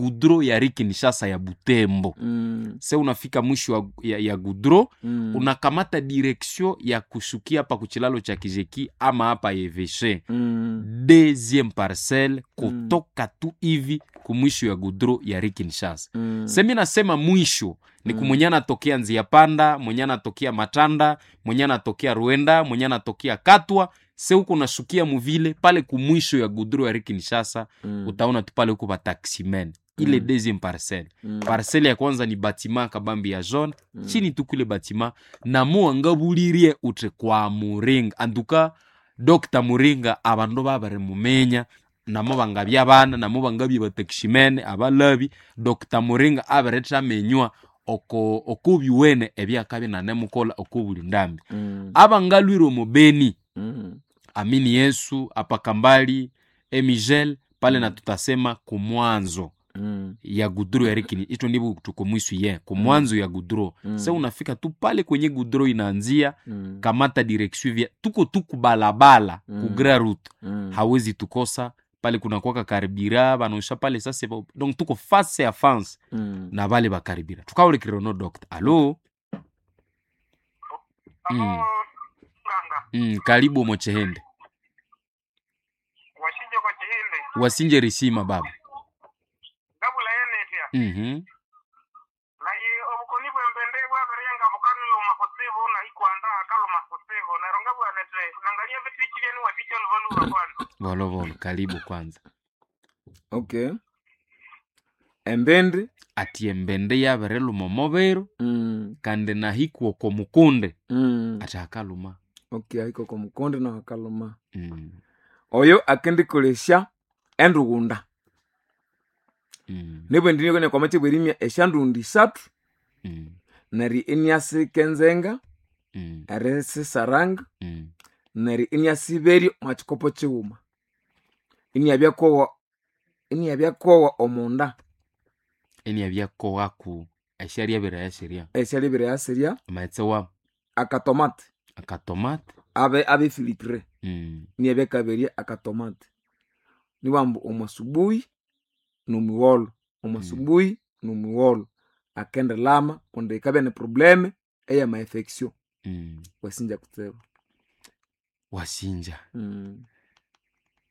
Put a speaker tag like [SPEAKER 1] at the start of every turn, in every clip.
[SPEAKER 1] goudron ya rue Kinshasa ya Butembo. Se unafika mwisho ya goudron, unakamata direction ya kushukia hapa kuchilalo cha Kijeki ama hapa Eveshe, deuxième parcelle kutoka tu hivi kumwisho ya goudron ya rue Kinshasa. Semi nasema mwisho ni kumwenye anatokea Nzia Panda, mwenye anatokea Matanda, mwenye anatokea Ruenda, mwenye anatokea Katwa, se huko nashukia muvile pale kumwisho ya goudron ya rue Kinshasa, utaona tu pale huko ba taximen ile deuxième parcelle. Parcelle ya kwanza ni bâtiment kabambi ya jaune, chini tu kule bâtiment na muwangabulirie ute kwa Muringa. Anduka Dr. Muringa abandu babere mumenya namo bangabya abana, namo bangabya bataximene abalabi. Dr. Muringa aberetamenywa oko okubyuwene ebyakabya nanemukola okubuli ndambi. Abangalwire omubeni, amini Yesu apakambali emigel pale, na tutasema kumwanzo ya goudron ya rikini ito ndivyo tuko mwisho ye kumwanzo ya goudron. Se unafika tu pale kwenye goudron inaanzia, kamata direction vya tuko tu kubalabala, ku grand route, hawezi tukosa pale. Kuna kwaka karibira banaosha pale sasa, donc tuko face à face na bale bakaribira tukaulikirano. Doctor, alo?
[SPEAKER 2] Alo, nganga.
[SPEAKER 1] Karibu mochehende.
[SPEAKER 2] Washinje kwa chihinde.
[SPEAKER 1] Wasinje risima baba.
[SPEAKER 2] Gabula yenetya. Naye obukoni bwembende bwaberenga bukaniluma kutsibu na ikwanda akaluma kutsibu neryo ngabwanete nangalia bitikilyeni waticha luvaluva kwanza.
[SPEAKER 1] Volovolo, karibu kwanza.
[SPEAKER 3] Okay, embindi.
[SPEAKER 1] Ati embende yabiriluma omubiri, kandi nahikwa oko mukunde, ati akaluma.
[SPEAKER 3] Okay, ahika oko mukonde naho akaluma. Oyo akendikolesya endughunda. Nibwendi kwamachi bwerimya esyandundi isathu, neryo iniasika enzenga, erisisaranga, neryo iniasiberya omwa kikopo kighuma, iniabyakowa, iniabyakowa omunda.
[SPEAKER 1] Eniabyakowaku esyaryabiraya sirya.
[SPEAKER 3] Esyalyabiraya sirya.
[SPEAKER 1] Amaghetse wa
[SPEAKER 3] Akatomate.
[SPEAKER 1] Akatomate.
[SPEAKER 3] Abe abefiltre. Iniabyakaberya akatomate niwambu omwasubuhi nomugholo, omwasubuhi nomugholo akendilama kundi ikabya ni probleme eyama infection. Wasinja kutsibu.
[SPEAKER 1] Wasinja.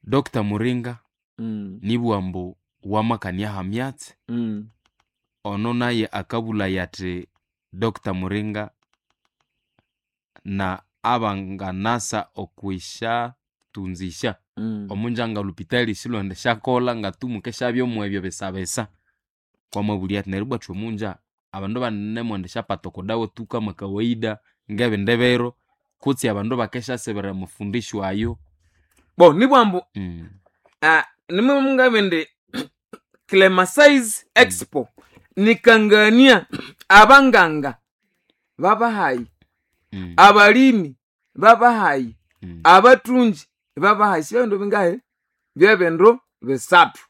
[SPEAKER 1] Dr. Muringa, nibwambu wamakania hamyatsi. Ono naye akabulaya ati Dr. Muringa na abanganasa okwishatunzisha omunja lupitali silonde syakolha ngatumuke syabyomu ebyo besabesa kwamabulya ati neryo bwathu omunja abandu banemwenda syapata okodawa tu kama kawaida ngebindi biro kutsi abandu bakeshasibira mufundisho ayo.
[SPEAKER 3] Bo nibwambu nimwe Clemasize Expo nikangania abanganga babahayi, abalimi babahayi, abatunji babahayi, sibindu bingahe byebindu bisathu.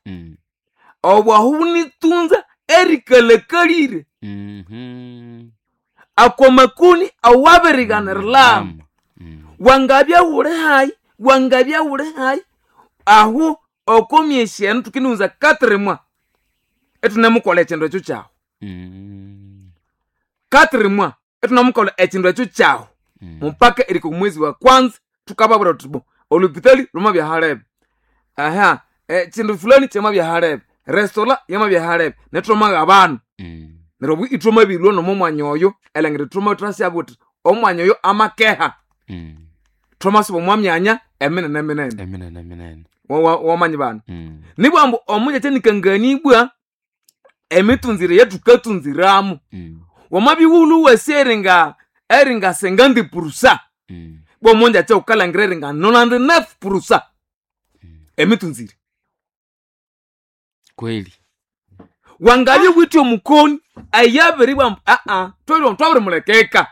[SPEAKER 3] Obwahu bunitunza erikalakalire akwamakuni awabiriganiriramu. Wangabya wuli hayi, wangabya wuli hayi ahu okomyesi enu tukindiwunza 4 mois itunemukolha ekindu ekyo kyahu. 4 mois itunemukolha ekindu ekyo kyahu, mupaka erika omwezi wa kwanza tukababwira tuti bo olupitali lwamabya halebe aha, kindu fulani kyamabya halebe, restola yamabya halebe, netwamaga abanu. Neryo obu ithwamabirwa nomo mwanya oyo elangira ithwama thwasyabwa uthi omwanya oyo amakeha. Thwamasuba omwa myanya eminene minene.
[SPEAKER 1] Eminene minene.
[SPEAKER 3] Wamanyi bana. Nibwambu omunja nikangania emitunzire yethukatunziramu. Wamabiwulu wasi eringa eringa 50%, bwomunja kya wukalangira eringa 99% emitunzire.
[SPEAKER 1] Kweli.
[SPEAKER 3] Wangabye withe omukoni ayabiribwa aa twabiri twabirimulekeka.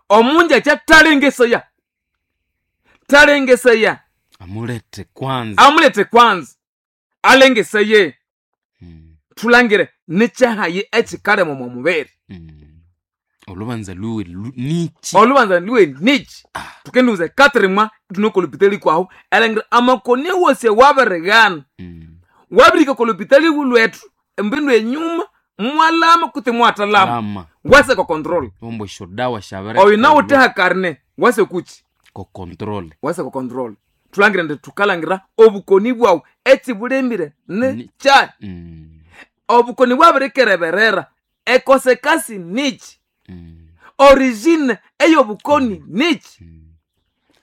[SPEAKER 3] Omunja kya talengesaya, talengesaya.
[SPEAKER 1] Amulete kwanza.
[SPEAKER 3] Amulete kwanza alengesaye. Thulangire nikyahayi ekikalema omwa mubiri.
[SPEAKER 1] Olubanza luwe nichi.
[SPEAKER 3] Olubanza luwe nichi. Tukendiwuza 4 mois ithune kwahu elangira amakoni wosi wabirighana. Wabirika kolopitali lwethu. embindu enyuma mwalama kuti mwatalama
[SPEAKER 1] Lama.
[SPEAKER 3] wase ko control
[SPEAKER 1] Ombo esyodawa syabere
[SPEAKER 3] oyo nawutheha karne wase kuchi
[SPEAKER 1] ko control.
[SPEAKER 3] Wase ko control. Thulangira ndi thukalangira obukoni bwawu ekibulemire ni kyayi. Obukoni bwabirikereberera ekosekasi nichi? Origine ey'obukoni nichi?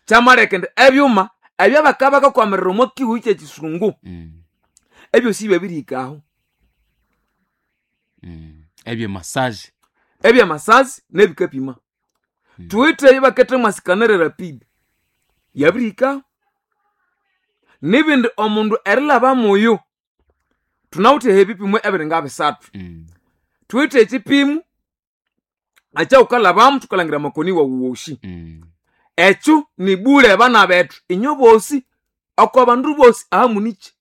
[SPEAKER 3] Kyamaleka indi ebyuma ebyabakabakakwamirira omo kihuhu kyekisungu ebyosi byabirihikaho.
[SPEAKER 1] Ebye massage.
[SPEAKER 3] Ebyamasazi nebikapima. Thuwithe ebakethe mwasikanere rapid yabirihikaho nibindi omundu erilhaba muyu thunawithe ebipimo ebiringa bisathu. Thuwithe ekipimo ekyawukalhabamu thukalangira amakoni wawu wosi. Ekyo nibule abana bethu inyo bosi oko bandu bosi ahamunichi.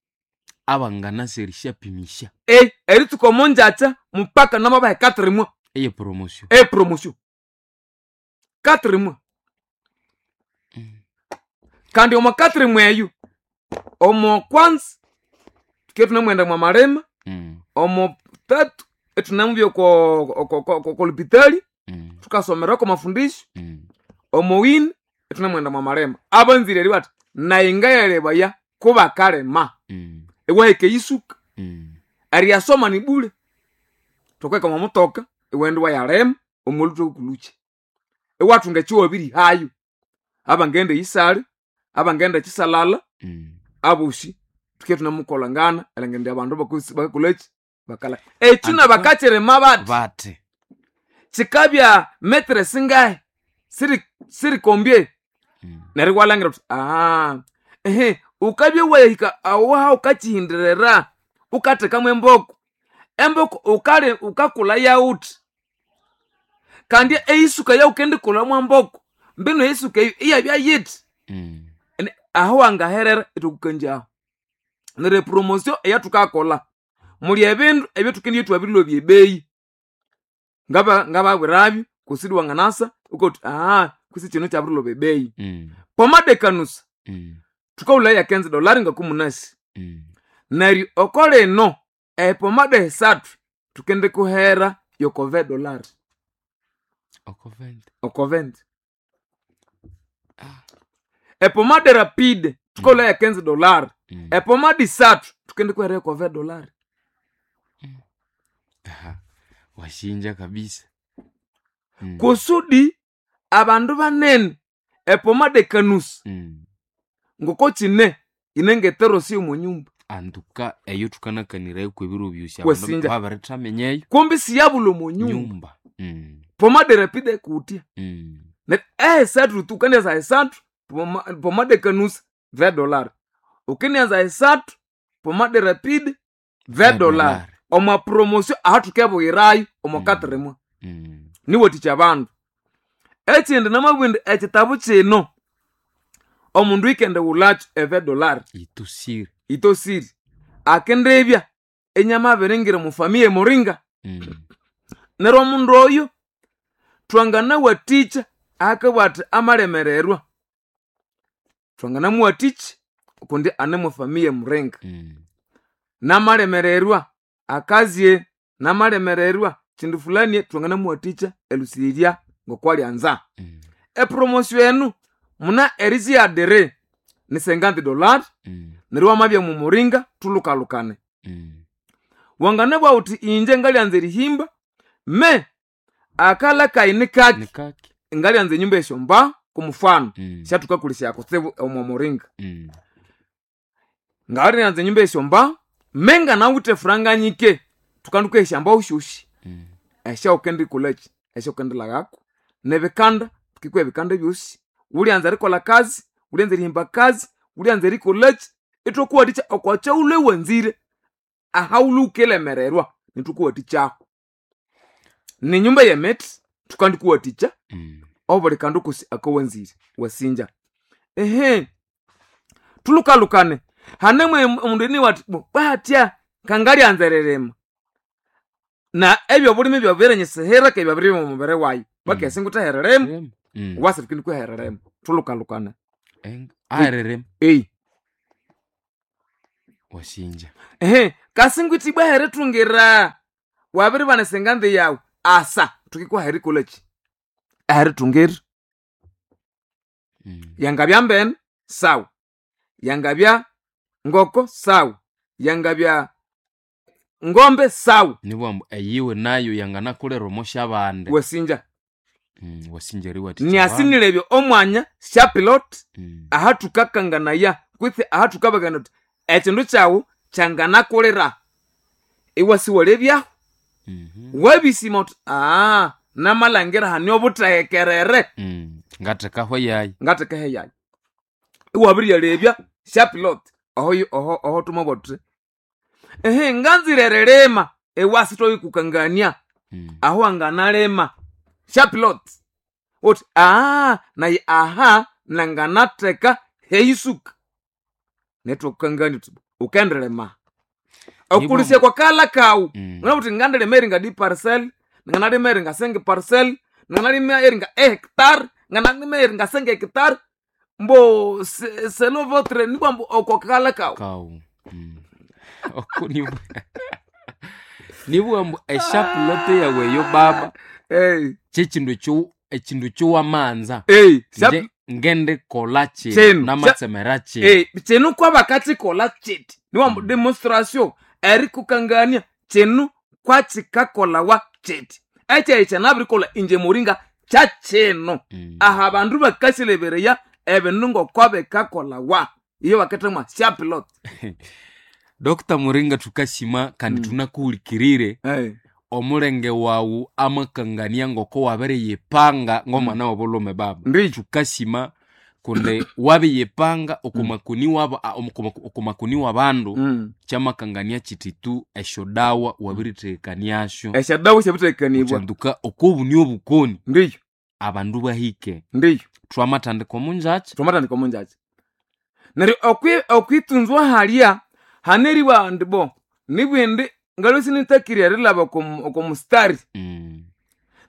[SPEAKER 1] Abanganasi erisyapimisya.
[SPEAKER 3] E eritsuka omonjakya mupaka namabaha 4 mois.
[SPEAKER 1] Eye promotion.
[SPEAKER 3] E promotion 4 mois. Kandi omo 4 mois eyo omo kwanza tuke tunamwenda mwa malima. Omo tatu etunamubya kolupitali. Thukasomerako mafundisho. Omo wini etunamwenda mwa malima abanzire eri bati naye ngayalebaya kubakalema. Iwahika eyisuka. Eriyasoma ni bule thukweka mwa mutoka iwaghenda iwayalima omwolhuthwa kulukya iwathunga ekyiwabirihayo abangaghenda eyisali abangaghenda ekisalala. Abosi thuke thunamukolangana erilhangira indi abandu bakakolhaki bakala ekyi nabakakyirima bathi.
[SPEAKER 1] Bathi.
[SPEAKER 3] Kikabya metere singahi siri sirikombye. Neryo iwalhangira wuthi aha ehe wukabya wahika aho wukakyihindirira wukathekamu emboko emboko wukali wukakulha yawuthi kandi eyisuka eyawukendikulha mwamboko mbino eyisuka eyo iyabya yithi. Aho wangaherera ithwakukanjaho neryo epromotion eyathukakolha muli ebindu ebyathukendibya ithwabirilobya ebeyi ngababwirabyo kusudi wanganasa wukathi aha kwisi kino kyabirilhoba ebeyi. Pomade kanusa thukawulaya ya $15 ngakumunasi. Neryo oko lino epomade esathu thukendikuhera yoko $20.
[SPEAKER 1] Oko 20.
[SPEAKER 3] Oko 20. Epomade rapide thukawulaya ya $15. Epomade isathu thukendikuhera yoko $20.
[SPEAKER 1] Aha. Washinja kabisa.
[SPEAKER 3] Kusudi abandu banene epomade kanusa ngoko kine inengeterosi omonyumba.
[SPEAKER 1] Antuka eyo thukanakanirayo kwebiro byosi abandu
[SPEAKER 3] Wesinja.
[SPEAKER 1] babirithaminya
[SPEAKER 3] Kumbi siyabulha omonyumba.
[SPEAKER 1] Nyumba.
[SPEAKER 3] Pomade rapide kutya. Neryo esathu tukandianza esathu pomade kanusa $20 ukinianza esathu pomade rapide $20.
[SPEAKER 1] Dollar.
[SPEAKER 3] Omwa promotion ahathukebuyirayo omo 4 mois. Niwathikya abandu ekindi namabugha indi ekitabu kino omundu ikendighulhakyo $20.
[SPEAKER 1] Itusire.
[SPEAKER 3] Itosire akindibya inyamabiringira omufamiya emuringa. Neryo omundu oyo twanganawathikya akabugha athi amalemererwa twanganamuwathikya kundi ane mwafamiya emuringa. Namalemererwa akazye namalemererwa kindu fulani twanganamuwathikya erilhusirirya ngokwalyanza. Epromotion enu muna eriziadere ni $50. Neryo wamabya mumuringa thulhukalhukane. Wanganabugha wuthi inje ngalyanza erihimba me akalha kayi nikaki.
[SPEAKER 1] Nikaki.
[SPEAKER 3] Ngalyanza enyumba esyombaho kumufano. Syathukakolesya kutsibu omo muringa. Ngalyanza enyumba esyombaho me nganawithe franga nyike thukanduka esyambaho syosi. Esyawukendikolhaki esyawukendilhaghako nebikanda thukikuha ebikanda ebyosi wulyanza erikolha kazi wulyanza erihimba kazi wulyanza erikolhaki ithwakuwathikya okwakyawulwe wanzire ahawulwe wukilemererwa nithukuwathikyaho ninyumba yemithi thukandikuwathikya. Obuli kandu kosi akawanzire wasinja ehe thulhukalhukane hanemu omundu iniwa athi bo bwatya kangalyanza eririma na ebyobulimi byabirenyisihira ke byabiribya omu mubiri wayi bakesi ngutheheririma. Wasi thukindikuheririma thulhukalhukane.
[SPEAKER 1] Aheririma.
[SPEAKER 3] Ei.
[SPEAKER 1] Wasinja.
[SPEAKER 3] Ehe, kasingwithibwa herithungira wabiribana esenganzi yawu asa thukikuha erikolaki erithungira. Yangabya mbene sawa, yangabya ngoko sawa, yangabya ngombe sawa.
[SPEAKER 1] Nibwambu eyiwe nayo yanganakulera omosha bande.
[SPEAKER 3] Wasinja.
[SPEAKER 1] Wasinja eriwathikya
[SPEAKER 3] Niasinilebya omwanya syapilot
[SPEAKER 1] abandu.
[SPEAKER 3] Ahathukakanganaya kwitsi ahathukabagana uthi ekindu kyawu kyanganakulira iwasiwalebyahu. Wabisima uthi aa namalhangira hane obuthehekerere.
[SPEAKER 1] Ngathekaho yayi.
[SPEAKER 3] Ngathekaho eyayi iwabiryalebya syapilot oho oho oho thumabugha thuthi ehe nganzire erilima iwasithwabikukangania. Aho wanganalima syapilot uthi aa nayi aha nanganatheka heyisuka nethwakukangania uthi ukendirima okulisya kwakalha kawu. Ngana uthi ngandilima eringa di parcel, nganalima eringa senge parcel, nganalima eringa hectare, nganalima eringa senge hectare mbo selon votre nibwa mbu okwakalha kawu.
[SPEAKER 1] Kawu. Oko nibwa mbu eshapulote yawe eyo baba.
[SPEAKER 3] Hey.
[SPEAKER 1] Kyekindu ekyo ekindu kyowamanza.
[SPEAKER 3] Hey,
[SPEAKER 1] Nje ngende kola kino
[SPEAKER 3] Kino.
[SPEAKER 1] namatsemera kino.
[SPEAKER 3] Hey, kino kwabakakikolha kiti niwa mbu demonstration erikukangania kino kwakikakolawa kiti ekyayi kyanabirikolha inje muringa kyakino. Aha abandu bakasilebereya ebindu ngokwabikakolawa iyo bakithemwa syapilot.
[SPEAKER 1] Dr. Muringa thukasima kandi tunakuhulikirire.
[SPEAKER 3] Hey.
[SPEAKER 1] Omulenge wawu amakangania ngoko wabiriyipanga ng'omwana w'obulhume baba.
[SPEAKER 3] Ndiyo.
[SPEAKER 1] Thukasima kundi wabiyipanga okumakuni wabo okumakuni w'abandu. Kyamakangania kiti tu esyodawa wabirithekaniasyo.
[SPEAKER 3] Esyadawa syabirithekanibwa.
[SPEAKER 1] Kyanduka okobuni obukoni.
[SPEAKER 3] Ndiyo.
[SPEAKER 1] Abandu bahike.
[SPEAKER 3] Ndiyo.
[SPEAKER 1] Twamathandika omunjakya.
[SPEAKER 3] Twamathandika omunjakya. Neryo okwitunzwa halya haneriwa indi bo nibwindi ngalwe sinitakirye erilhaba oko mustari.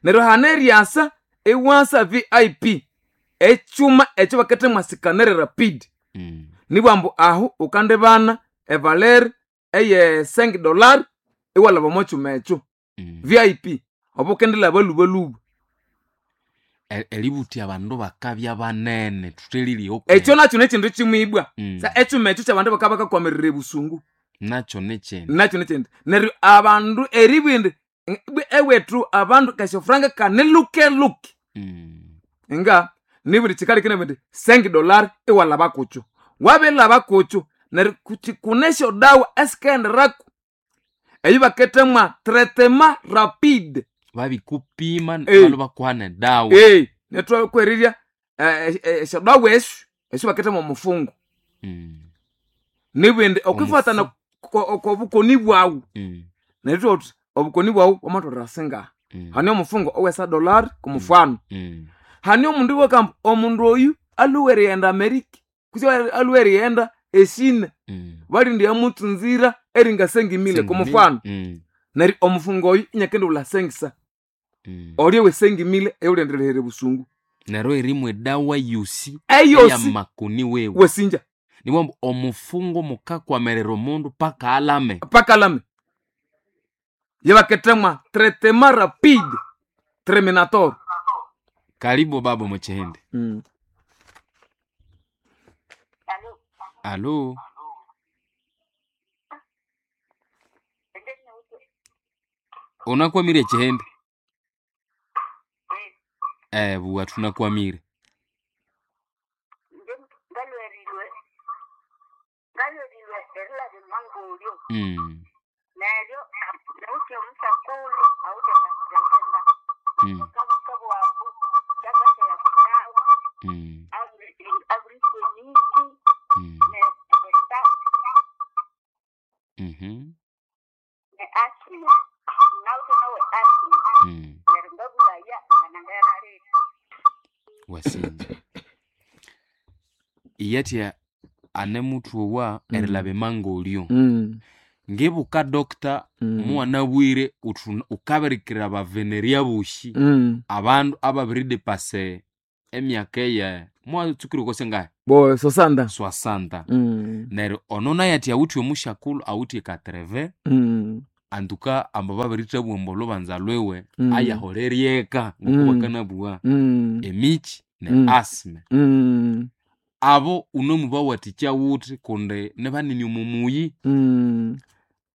[SPEAKER 3] Neryo haneryasa iwasa VIP ekyuma ekyo bakithemwa scanner rapid. Nibwa ambu ahu ukandibana evaleri eye $5 iwalhaba omo kyuma ekyo. VIP obo ukendilhaba lhubalhuba.
[SPEAKER 1] Eributhya abandu bakabya banene thuthelire
[SPEAKER 3] Ekyo nakyo nekindu kimwibwa. Sa ekyuma ekyo kyabandu bakabya bakakwamirira ebusungu.
[SPEAKER 1] Nakyo nekyindi.
[SPEAKER 3] Nakyo nekyindi. Neryo abandu eribwa indi ewethu abandu kasyofuranga kanilukeluke. Nga nibuli kyikaleka indi $5 iwalhaba kukyo. Wabilhaba kukyo neryo kune esyodawa esikaghenderaku eyo bakithemwa traitement rapide.
[SPEAKER 1] Babikupima
[SPEAKER 3] Hey.
[SPEAKER 1] balo bakuha nedawa.
[SPEAKER 3] Hey, nethwakwerirya esyodawa esyo esyo bakithemwa omufungo. Nibindi okwifatana okobukoni bwawu. Neryo thuthi obukoni bwawu bwamatholera singaha. Hane omufungo owesa dollar kumufano. Hane omundu wakamba omundu oyu alhuwe erighenda Amerika kutse alhuwe erighenda eshina. Balindi yamutsunzira eringa sengimile kumufano. Neryo omufungo oyu inyakendiwulha sengisa. Olyo we sengimile eyulendirehere busungu.
[SPEAKER 1] Neryo erimwe edawa yosi
[SPEAKER 3] Eyosi
[SPEAKER 1] eyamakoni wewe.
[SPEAKER 3] Wasinja.
[SPEAKER 1] Niwambu omufungo mukakwamerera omundu paka alame.
[SPEAKER 3] Paka alame. Yebakethemwa traitement rapide terminator.
[SPEAKER 1] Karibu baba muchihende. Alo. Unakwamire chihende? Buwa tunakwamire. Wasinja. Iyatya ane muthu owa erilaba emangolyo. Ngibuka doctor muwanabwire ukabirikira abaveneria bosi abandu ababiridepase emyaka eye Mwatsukire kosengahe?
[SPEAKER 3] Bo sosanda.
[SPEAKER 1] Swasanta. Neryo ono naye ati awithe omushakulu awithe 80. Antuka amba babirithebwa ambu olhubanza lwiwe ayaholeryeka ngoko bakanabugha emichi ne asthma. Abo unemubawathikya wuthi kundi nibanene omo muyi,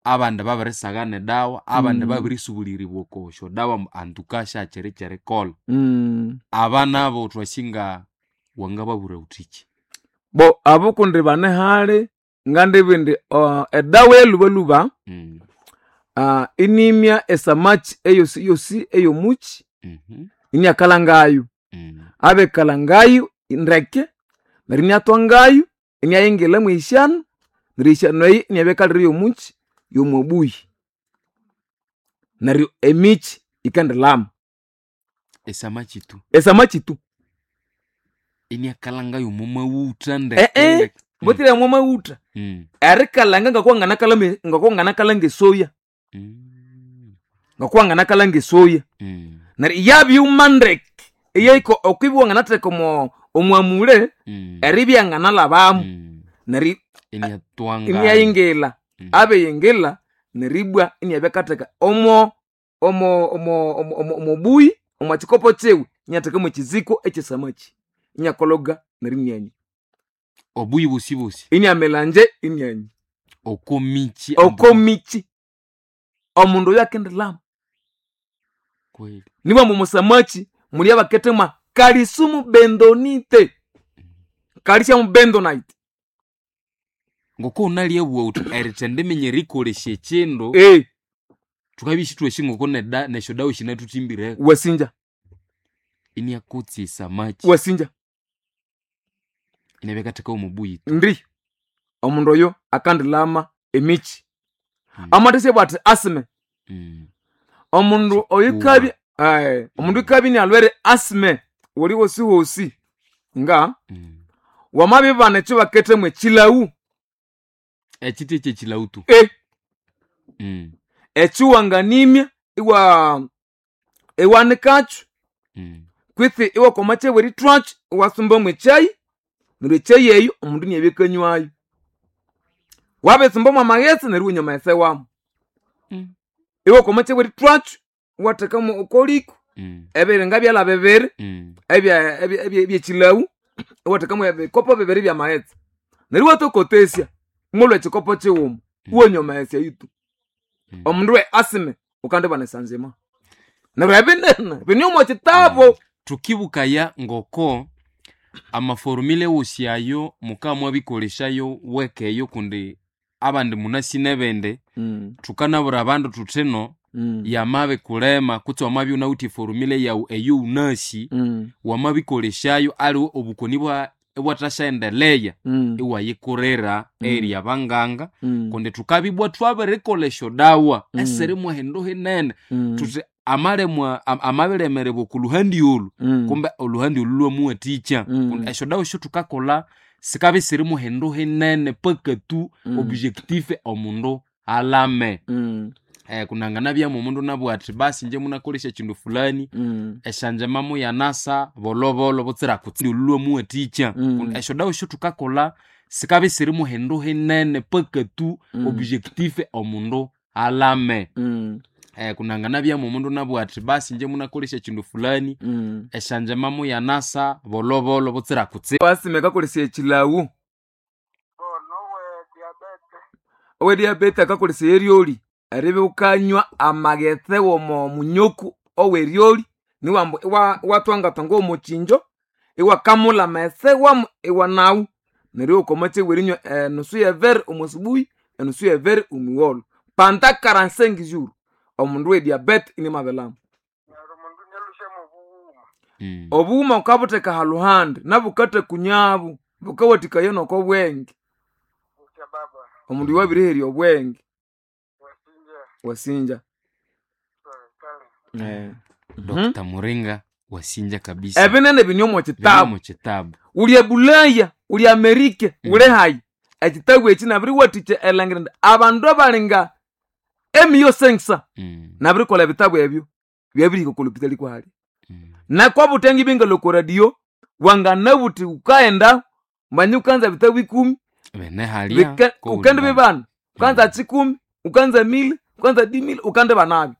[SPEAKER 1] abandi babirisagha nedawa, abandi babirisubulirirwa oko syodawa ambu antuka syakyiri kyerikolha. Aba nabo thwasinga wangababwira wuthiki?
[SPEAKER 3] Bo abo kundi bane hali ngandibugha indi edawa eyalhubalhuba inimya esamaki eyosi yosi eyomukyi iniakalhangayu. Abikalhangayu ndeke neryo iniathwangayu iniayingila mweyisyanu neryo eyisyanu eyi iniyabya ekalire yomukyi yomwabuyi. Neryo emikyi yikendilhama.
[SPEAKER 1] Esamaki tu?
[SPEAKER 3] Esamaki tu.
[SPEAKER 1] Iniakalhangayu omo maghutha ndeke ndeke?
[SPEAKER 3] Butsira omo maghutha. Erikalhanga ngokwa wanganakalhanga esoya. Ngokwa wanganakalhanga esoya. Neryo yabyuma ndeke eyahika okwibya wanganatheka omwamule eribya yanganalhabamu. Neryo
[SPEAKER 1] Iniathwangayu.
[SPEAKER 3] Iniyayingila. Abiyingila neribwa iniyabya akatheka omo omo omo omo omobuyi omwa kikopo kyiwe inyatheka mwekiziko ekyesamaki inyakologa neryo inianywa.
[SPEAKER 1] Obuyi bosi bosi?
[SPEAKER 3] Iniamelanje inianywa.
[SPEAKER 1] Oko michi?
[SPEAKER 3] Oko michi. Omundu oyo akendilhama.
[SPEAKER 1] Kweli.
[SPEAKER 3] Nibwa ambu omusamaki muli abakethemwa kalisumu bendonite. Calcium bentonite.
[SPEAKER 1] Ngoko wunalyabuwa wuthi erithendiminya erikolesya ekyindu, thukabya isithwasi ngoko nesyodawa sinathuthimbireku.
[SPEAKER 3] Wasinja.
[SPEAKER 1] Iniakotsa esamaki.
[SPEAKER 3] Wasinja.
[SPEAKER 1] Inabya akatheka omubuyi tu.
[SPEAKER 3] Ndi. Omundu oyo akandilhama emikyi. Amathesya athi asthma. Omundu oyukabya omundu oyukabya inialhwere asthma wuli wosi wosi nga wamabibana ekyo bakethemu ekyilhawu.
[SPEAKER 1] Ekyithi kyekyilhawu tu?
[SPEAKER 3] Ekyo wanganimya iwanikakyo kwitsi iwakoma kyebwa erithwakyo iwasumbamu ekyayi neryo ekyayi eyo omundu iniyabya akanywayo. Wabiritsumba mwamaghetse neryo iwanywa amaghetse wamu. Iwakoma kyebwa erithwakyo iwathekamu okoliko ebiringa byalha bibiri ebyekyilhawu iwathekamu ebikopo bibiri byamaghetse neryo iwatokotesya imwalhwa ekikopo kighuma iwanywa amaghetse ayo tu. Omundu we asthma wukandibana esanzima. Neryo ebinene bine omo kitabo.
[SPEAKER 1] Thukibukaya ngoko amaforumile wosi ayo mukamwabikolesyayo weka eyo kundi abandi munasi nebindi, thukanabwira abandu thuthino yamabikulema kutse wamabya wunawithe eforumile yawu eyo wunasi, wamabikolesyayo aliwe obukoni ibwathasyaendeleya iwayikurira eyiri abanganga kundi thukabya thwabirikolha esyodawa esiri mwahindu hinene, thuthi amalemwa amabilemererwa oko luhandi olu, kumbe oluhandi olu lwamuwathikya. Kundi esyodawa esyathukakolha sikabya isiri muhindu hinene paka tu objectif omundu alhame. Kunanganabyamu omundu inabugha athi basi ingye munakolesya ekyindu fulani, esyanjima muyanasa bolhobolho butsira kutsi olu lwamuwathikya. Kundi esyodawa esyathukakolha sikabya isiri muhindu hinene paka tu objectif omundu alhame. Kunanganabyamu omundu inabugha athi basi ingye munakolesya ekyindu fulani, esyanjima muyanasa bolhobolho butsira kutsi.
[SPEAKER 3] Asthma akakolesya ekyilhawu.
[SPEAKER 2] Nowe diabete.
[SPEAKER 3] Owe diabete akakolesya eryoli eribya wukanywa amaghetse womo munyoku oweryoli niwambu iwathwangathwanga omokyinjo iwakamulha amaghetse wamu iwanawu neryo iwakoma kyebwa erinywa enusu yebere omo subuhi enusu yebere omugholo panda 45 jours omundu we diabete inimabilhama.
[SPEAKER 2] Neryo omundu inyalusya mwobughuma.
[SPEAKER 3] Obughuma wukabutheka haluhandi nabukathakunyabu bukawathikaya nokobwenge.
[SPEAKER 2] Butya baba.
[SPEAKER 3] Omundu oyo wabiriherya obwenge.
[SPEAKER 2] Wasinja.
[SPEAKER 3] Wasinja.
[SPEAKER 2] Kale.
[SPEAKER 1] Dr. Muringa wasinja kabisa.
[SPEAKER 3] Ebinene bine omo
[SPEAKER 1] Bine
[SPEAKER 3] kitabu.
[SPEAKER 1] omo kitabu.
[SPEAKER 3] Wuli ebulaya, wuli Amerika, wuli hayi. Ekitabu eki nabiriwathikya erilhangira indi abandu abalinga emiyo sengisa nabirikolha ebitabu ebyo byabirihika oko lupitali kwahali. Nakwabuthengi ibingalhwa oko radio. Wanganabuthi ukaenda manya ukanza bitabu 10
[SPEAKER 1] Bene halia
[SPEAKER 3] ukende bibana, ukanza 10, ukanza 1000, ukanza 10000, ukande banabyo.